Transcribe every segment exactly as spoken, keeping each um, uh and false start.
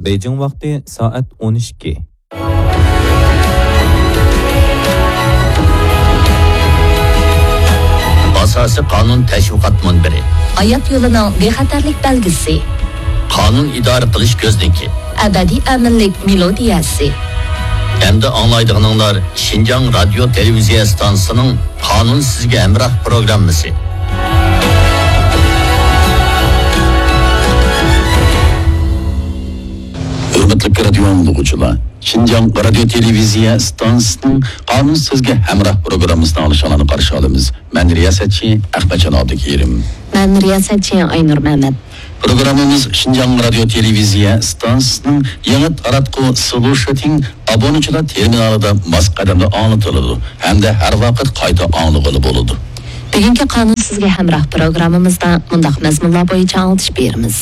بېيجىڭ ۋاقتى سائەت ئون ئىككى. ئاساسىي قانۇن تەشۋىقات مۇنبىرى. ھايات يولىنىڭ بىخەتەرلىك بەلگىسى. قانۇن ئىدارە قىلىش كۆزنىكى. ئەبەدىي ئەمىنلىك مېلودىيەسى. ئەمدى ئاڭلايدىغىنىڭلار شىنجاڭ رادىيو تېلېۋىزىيە ئىستانسىسىنىڭ قانۇن سىزگە ھەمراھ پروگراممىسى. ھۆرمەتلىك رادىيو ئاڭلىغۇچىلار، شىنجاڭ رادىيو تېلېۋىزىيە ئىستانسىسىنىڭ قانۇن سىزگە ھەمراھ پروگراممىسىنى ئاڭلىشىڭلارنى قارشى ئالىمىز. مەن رىياسەتچى ئەخمەتجان ئابدۇكېرىم. مەن رىياسەتچى ئاينۇر مەمەت. پروگراممىمىز شىنجاڭ رادىيو تېلېۋىزىيە ئىستانسىسىنىڭ يېڭى تاراتقۇ سلۇشىتىڭ ئابۇنىچىلار تېرمىنالىدا ماس قەدەمدە ئاڭلىتىلىدۇ ھەمدە ھەر ۋاقىت قايتا ئاڭلىغىلى بولىدۇ. بۈگۈنكى قانۇن سىزگە ھەمراھ پروگراممىمىزدا مۇنداق مەزمۇنلار بويىچە ئاڭلىتىش بېرىمىز.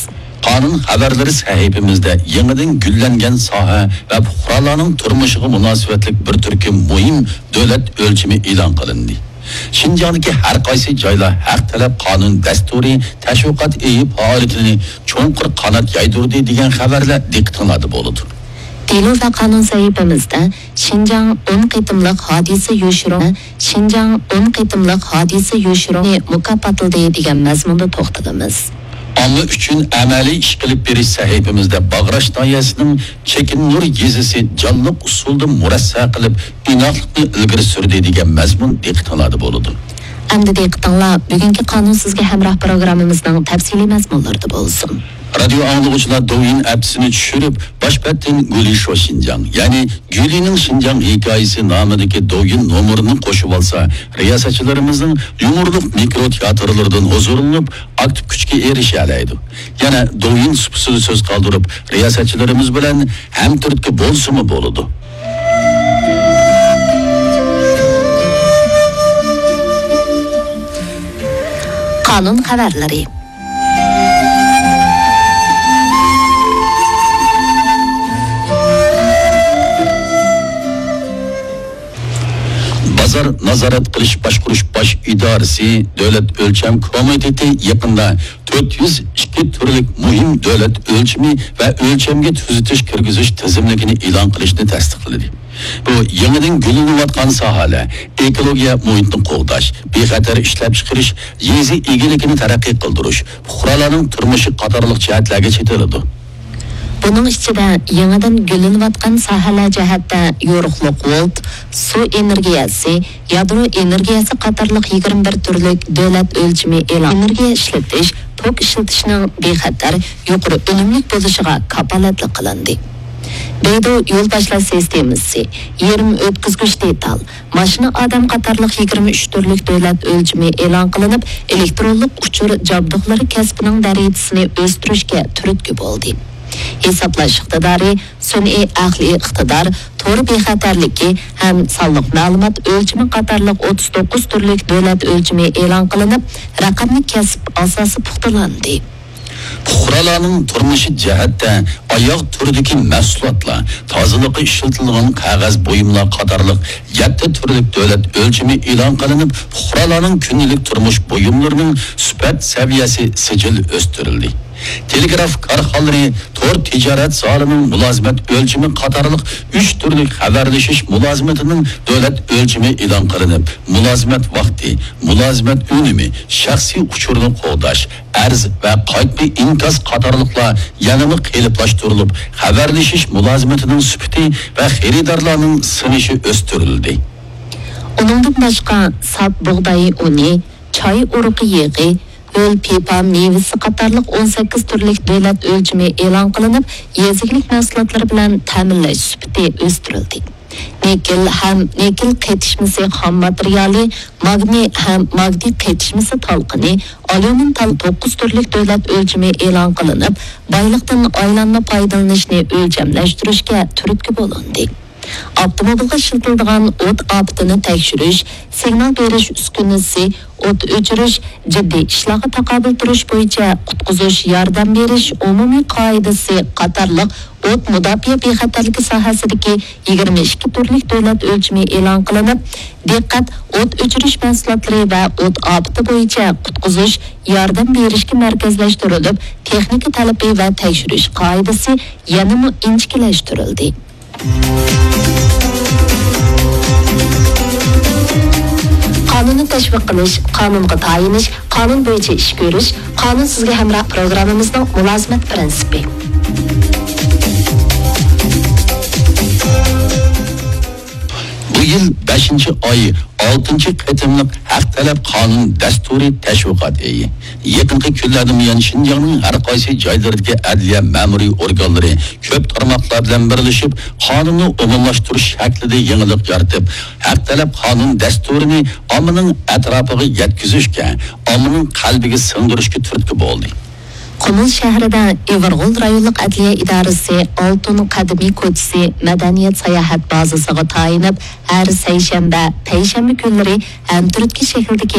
قانۇن خەۋەرلىرى سەھىپىمىزدە يېڭىدىن گۈللەنگەن ساھە ۋە پۇقرالارنىڭ تۇرمۇشىغا مۇناسىۋەتلىك بىر تۈركۈم مۇھىم دۆلەت ئۆلچىمى ئېلان قىلىندى. شىنجاڭدىكى ھەر قايسى جايلار ھەق تەلەپ قانۇن دەستۇرى تەشۋىقات ئېيى پائالىيىتىنى چوڭقۇر قانات يايدۇردى دېگەن خەۋەرلەر دىققىتىڭلاردا بولىدۇ. دېلو ۋە قانۇن سەھىپىمىزدە شىنجاڭ ئون قېتىملىق ھادىسە يوشۇرۇن، شىنجاڭ ئون قېتىملىق ھادىسە يوشۇرۇنى مۇكاپاتلىدى دېگەن مەزمۇندا توختىلىمىز. ئامما ئۈچۈن ئەمەلىي ئىش قىلىپ بېرىش سەھىپىمىزدە باغراش ناھىيەسىنىڭ چېكىننۇر يېزىسى جانلىق ئۇسۇلدا مۇرەسسە قىلىپ، ئىناقلىقنى ئىلگىرى سۈردى دېگەن مەزمۇن دىققىتىڭلاردا بولىدۇ. ئەمدى دىققىتىڭلار بۈگۈنكى قانۇن سىزگە ھەمراھ پروگراممىمىزنىڭ تەپسىلىي مەزمۇنلىرىدا بولسۇن. رادىيو ئاڭلىغۇچىلار دوۋيىن ئەپسىنى چۈشۈرۈپ، باش بەتتىن گۈلى شو شىنجاڭ، يەنى گۈلىنىڭ شىنجاڭ ھېكايىسى نامىدىكى دوۋيىن نومۇرىنى قوشۇۋالسا، رىياسەتچىلىرىمىزنىڭ يۇمۇرلۇق مىكرو تىياتىرلىرىدىن ھۇزۇرلىنىپ، ئاكتىپ كۈچكە ئېرىشەلەيدۇ. يەنە دوۋيىن سۇپىسىدا سۆز قالدۇرۇپ، رىياسەتچىلىرىمىز بىلەن ھەمتۈرتكە بولسىمۇ بولىدۇ. قانۇن خەۋەرلىرى. بازار نازارەت قىلىش باشقۇرۇش باش ئىدارىسى دۆلەت ئۆلچەم كومىتېتى يېقىندا تۆت يۈز ئىككى تۈرلۈك مۇھىم دۆلەت ئۆلچىمى ۋە ئۆلچەمگە تۈزىتىش كىرگۈزۈش تىزىملىكىنى ئېلان قىلىشنى تەستىقلىدى. بۇ يېڭىدىن گۈللىنىۋاتقان ساھەلەر، ئېكولوگىيە مۇھىتنى قوغداش، بىخەتەر ئىشلەپچىقىرىش، يېزا ئىگىلىكىنى تەرەققىي قىلدۇرۇش، پۇقرالارنىڭ تۇرمۇشى قاتارلىق جەھەتلەرگە چېتىلىدۇ. بۇنىڭ ئىچىدە يېڭىدىن گۈللىنىۋاتقان ساھەلەر جەھەتتە يورۇقلۇق ۋولت، سۇ ئېنېرگىيەسى، يادرو ئېنېرگىيەسى قاتارلىق يىگىرمە بىر تۈرلۈك دۆلەت ئۆلچىمى ئېلان، ئېنېرگىيە ئىشلىتىش، توك ئىشلىتىشنىڭ بىخەتەر، يۇقىرى ئۈنۈملۈك بولۇشىغا كاپالەتلىك قىلىندى. بەيدۇ يول باشلاش سىستېمىسى، يېرىم ئۆتكۈزگۈچ دېتال، ماشىنا ئادەم قاتارلىق يىگىرمە ئۈچ تۈرلۈك دۆلەت ئۆلچىمى ئېلان قىلىنىپ، ئېلېكترونلۇق ئۇچۇر جابدۇقلىرى كەسپىنىڭ دەرىجىسىنى ئۆستۈرۈشكە تۈرتكە بولدى. ھېسابلاش ئىقتىدارى، سۈنئىي ئەقلىي ئىقتىدار، تور بىخەتەرلىكى ھەم سانلىق مەلۇمات ئۆلچىمى قاتارلىق ئوتتۇز توققۇز تۈرلۈك دۆلەت ئۆلچىمى ئېلان قىلىنىپ، رەقەملىك كەسىپ ئاساسى پۇختىلاندى. پۇقرالارنىڭ تۇرمۇشى جەھەتتە ئاياغ تۈرىدىكى مەھسۇلاتلار، تازىلىققا ئىشلىتىلىدىغان قەغەز بۇيۇملار قاتارلىق يەتتە تۈرلۈك دۆلەت ئۆلچىمى ئېلان قىلىنىپ، پۇقرالارنىڭ كۈندىلىك تۇرمۇش بۇيۇملىرىنىڭ سۈپەت سەۋىيەسى سىجىل ئۆستۈرۈلدى. تېلېگراف كارخانىلىرى تور تىجارەت زالىنىڭ مۇلازىمەت ئۆلچىمى قاتارلىق ئۈچ تۈرلۈك خەۋەرلىشىش مۇلازىمىتىنىڭ دۆلەت ئۆلچىمى ئېلان قىلىنىپ، مۇلازىمەت ۋاقتى، مۇلازىمەت ئۈنۈمى، شەخسىي ئۇچۇرنى قوغداش، ئەرز ۋە قايتما ئىنكاس قاتارلىقلار يەنىمۇ قېلىپلاشتۇرۇلۇپ، خەۋەرلىشىش مۇلازىمىتىنىڭ سۈپىتى ۋە خېرىدارلارنىڭ سىنىشى ئۆستۈرۈلدى. ئۇنىڭدىن باشقا، ساپ بۇغداي ئۇنى، چاي ئۇرۇقى يېغى، ھۆل پىپا مېۋىسى قاتارلىق ئون سەككىز تۈرلۈك دۆلەت ئۆلچىمى ئېلان قىلىنىپ، يېزا ئىگىلىك مەھسۇلاتلىرى بىلەن تەمىنلەش سۈپىتى ئۆستۈرۈلدى. نىكېل ھەم نىكېل قېتىشمىسى خام ماتېرىيالى، ماگنىي ھەم ماگنىي قېتىشمىسى تالقىنى، ئاليۇمىن تال توققۇز تۈرلۈك دۆلەت ئۆلچىمى ئېلان قىلىنىپ، بايلىقتىن ئايلانما پايدىلىنىشنى ئۆلچەملەشتۈرۈشكە تۈرتكە بولۇندى. ئاپتوموبىلغا ئىشلىتىلىدىغان ئوت ئاپىتىنى تەكشۈرۈش، سىگنال بېرىش ئۈسكۈنىسى، ئوت ئۆچۈرۈش، جىددىي ئىشلارغا تاقابىل تۇرۇش بويىچە قۇتقۇزۇش، ياردەم بېرىش ئومۇمىي قائىدىسى قاتارلىق ئوت مۇداپىئە بىخەتەرلىكى ساھەسىدىكى يىگىرمە ئىككى تۈرلۈك دۆلەت ئۆلچىمى ئېلان قىلىنىپ، دىققەت ئوت ئۆچۈرۈش مەھسۇلاتلىرى ۋە ئوت ئاپىتى بويىچە قۇتقۇزۇش، ياردەم بېرىشكە مەركەزلەشتۈرۈلۈپ، تېخنىكا تەلىپى ۋە تەكشۈرۈش قائىدىسى يەنىمۇ ئىنچىكىلەشتۈرۈلدى. قانۇننى تەشۋىق قىلىش، قانۇنغا تايىنىش، قانۇن بويىچە ئىش كۆرۈش، قانۇن سىزگە ھەمراھ پروگراممىمىزنىڭ مۇلازىمەت پىرىنسىپى. بۇ يىل بەشىنچى ئاي ئالتىنچى قېتىملىق ھەق تەلەپ قانۇن دەستۇرى تەشۋىقات ئېيى. يېقىنقى كۈنلەردىن بۇيان، شىنجاڭنىڭ ھەر قايسى جايلىرىدىكى ئەدلىيە مەمۇرىي ئورگانلىرى كۆپ تارماقلار بىلەن بىرلىشىپ، قانۇننى ئومۇملاشتۇرۇش شەكلىدە يېڭىلىق يارىتىپ، ھەق تەلەپ قانۇن دەستۇرىنى ئاممىنىڭ ئەتراپىغا يەتكۈزۈشكە، ئاممىنىڭ قەلبىگە سىڭدۈرۈشكە تۈرتكە بولدى. قۇمۇل شەھىرىدە ئىۋىرغول رايونلۇق ئەدلىيە ئىدارىسى ئالتۇن قەدىمىي كوچىسى مەدەنىيەت ساياھەت بازىسىغا تايىنىپ، ھەر سەيشەنبە، پەيشەنبە كۈنلىرى ھەمتۈرتكە شەكلىدىكى